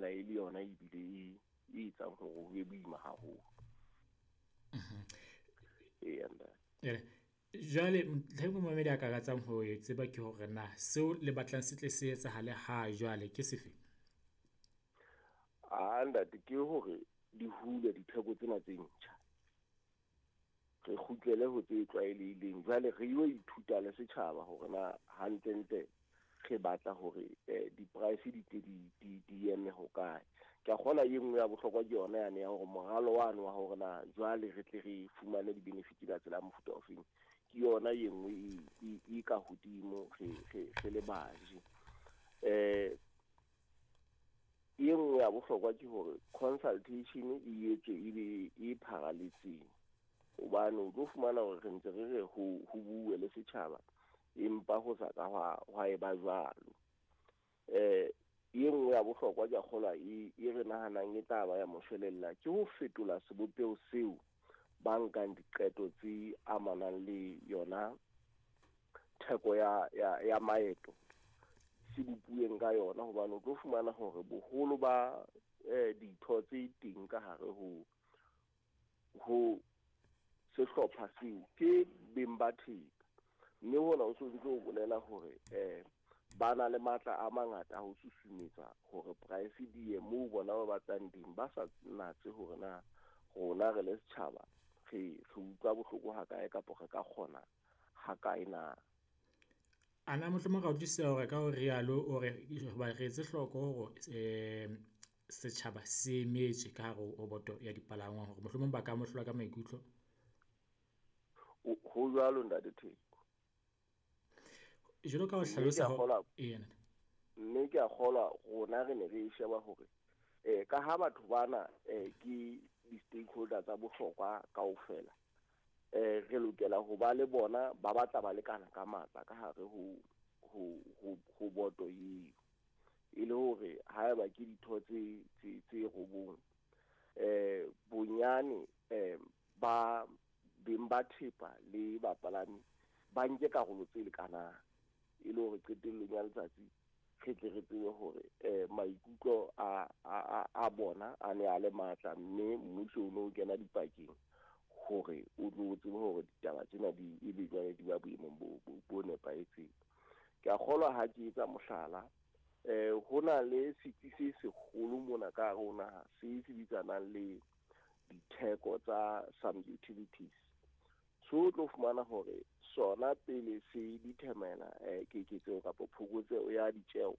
bonahala e le yona ebile e e etsang hore ho be boima haholo. Eya, ntate. Jwale ntlha e momamedi a ka ratsang ho e tseba ke hore na seo le batlang se tle se etsahale ha jwale ke sefe? Ah, ntate, ke hore di hule ditheko tsena tse ntjha. Re kgutlele ho tse tlwaelehileng. Jwale re yo ithuta le setjhaba hore na hantlentle re batla hore di-price di tle di eme hokae. Ke a kgolwa e nngwe ya bohlokwa ke yona yane ya hore moralo wane wa hore na jwale re tle re fumane di-benefit ka tsela ya mofuta ofeng. Ke yona e nngwe e ka hodimo re le baji. E nngwe ya bohlokwa ke hore consultation e etswe e be e pharaletseng. Hobane o tlo fumana hore re ntse re re ho bue le setjhaba, empa ho sa ka hwa eba jwalo. E nngwe ya bohlokwa ke a kgolwa e re nahanang e tla ba ya moshwelella ke ho fetola sebopeho seo ba nkang diqeto tse amanang le yona theko ya maeto se bopuweng ka yona, hobane o tlo fumana hore boholo ba ditho tse teng ka hare ho sehlopha seo ke beng ba thepa, mme hona o so ntse o bolela hore ba na le matla a mangata a ho susumetsa hore price di ye moo bona ba batlang teng, ba sa natse hore na rona re le setjhaba re utlwa bohloko ha kae kapa re ka kgona ha kae na. Ana mohlomong ra utlwisisa hore ka ho rialo o re hoba re etse hloko hore setjhaba se emetswe ka hare ho boto ya dipalangwang hore mohlomong ba ka amohlolwa ka maikutlo. Ho jwalo, ntate Theko. Jwalo ka ho hlalosa Mme ke a kgolwa rona re ne re sheba hore ka ha batho bana ke di-stakeholder tsa bohlokwa kaofela, re lokela ho ba le bona ba batla ba lekana ka matla ka hare ho boto eo, e le hore haeba ke ditho tse robong, bonyane ba beng ba thepa le bapalami ba nke karolo tse lekanang, e le hore qetellong ya letsatsi re tle re tsebe hore maikutlo a bona a ne a le matla, mme mmuso o no kena dipakeng hore o tlo tsebe hore ditaba tsena di ebe jwale di ba boemong bo nepahetseng. Ke a kgolwa ha ke etsa mohlala, ho na le setsi se seholo mona ka hare ho naha se sebetsanang le ditheko tsa some utilities. So o tlo fumana hore sona pele se determina keketseho kapa phokotseho ya ditjeo,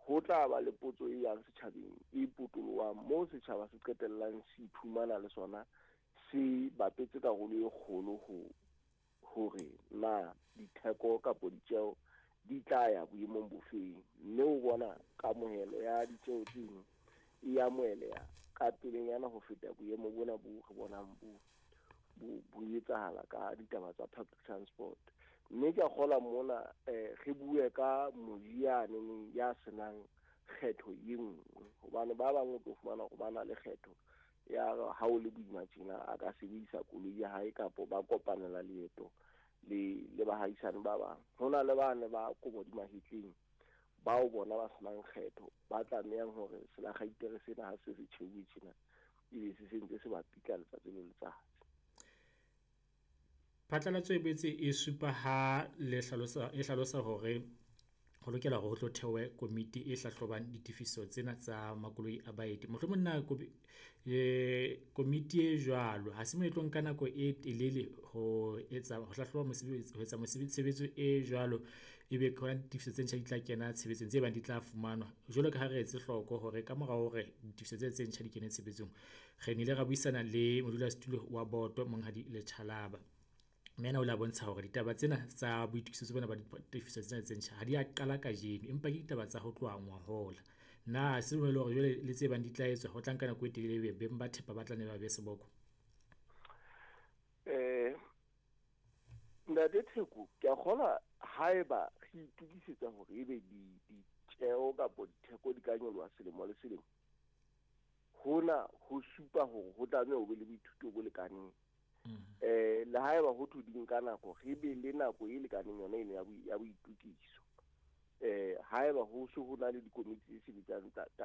ho tla ba le potso e yang setjhabeng e potolohang moo setjhaba se qetellang se iphumana le sona se bapetse karolo e kgolo ho hore na ditheko kapa ditjeo di tla ya boemong bofeng, mme o bona kamohelo ya ditjeo tseno e amoheleha ka pelenyana ho feta boemo bona bo re bonang bo etsahala ka ditaba tsa public transport. Mme ke a kgolwa mona re bue ka moji yaneneng ya senang kgetho e nngwe, hobane ba bang o tlo fumana hore ba na le kgetho ya ha o le boima tjena a ka sebedisa koloi ya hae kapa ba kopanela leeto le bahaisane ba bang. Ho na le bane ba kobo di mahetleng bao bona ba senang kgetho, ba tlamehang hore selakgaitere sena ha se se tjheuwe tjena ebe se sentse se ba pitla letsatsi le letsatsi. Phatlalatso e boetse e supa ha le hlalosa, e hlalosa hore ho lokela hore ho tlo thewe komiti e hlahlobang ditefiso tsena tsa makoloi a baeti. Mohlomong na komiti e jwalo ha se mo e tlo nka nako e telele ho etsa ho hlahloba mosebetsi, ho etsa mosebetsi tshebetso e jwalo, ebe ke hona ditefiso tse ntjha di tla kena tshebetsong tse bang di tla fumanwa. Jwalo ka ha re etse hloko hore ka mora hore ditefiso tse tse ntjha di kene tshebetsong, re nnile ra buisana le modulasetulo wa boto Monghadi Letjhalaba. Mme ena o la bontsha hore ditaba tsena tsa boitokisetso bona ba ditefiso tsena tse ntjha ha di a qala kajeno, empa ke ditaba tsa ho tloha ngwahola. Na se bolele hore jwale le tse bang di tla etswa ho tla nka nako e telele ebe beng ba thepa ba tla ne ba be seboko? Ntate Theko, ke a kgolwa haeba re itokisetsa hore ebe ditjeo kapa ditheko di ka nyoloha selemo le selemo, hona ho supa hore ho tlameha ho be le boithuto bo lekaneng. Le haeba ho thwe di nka nako, re be le nako e lekaneng yona eno ya boitokiso. Haeba ho se ho na le dikomiti tse sebetsang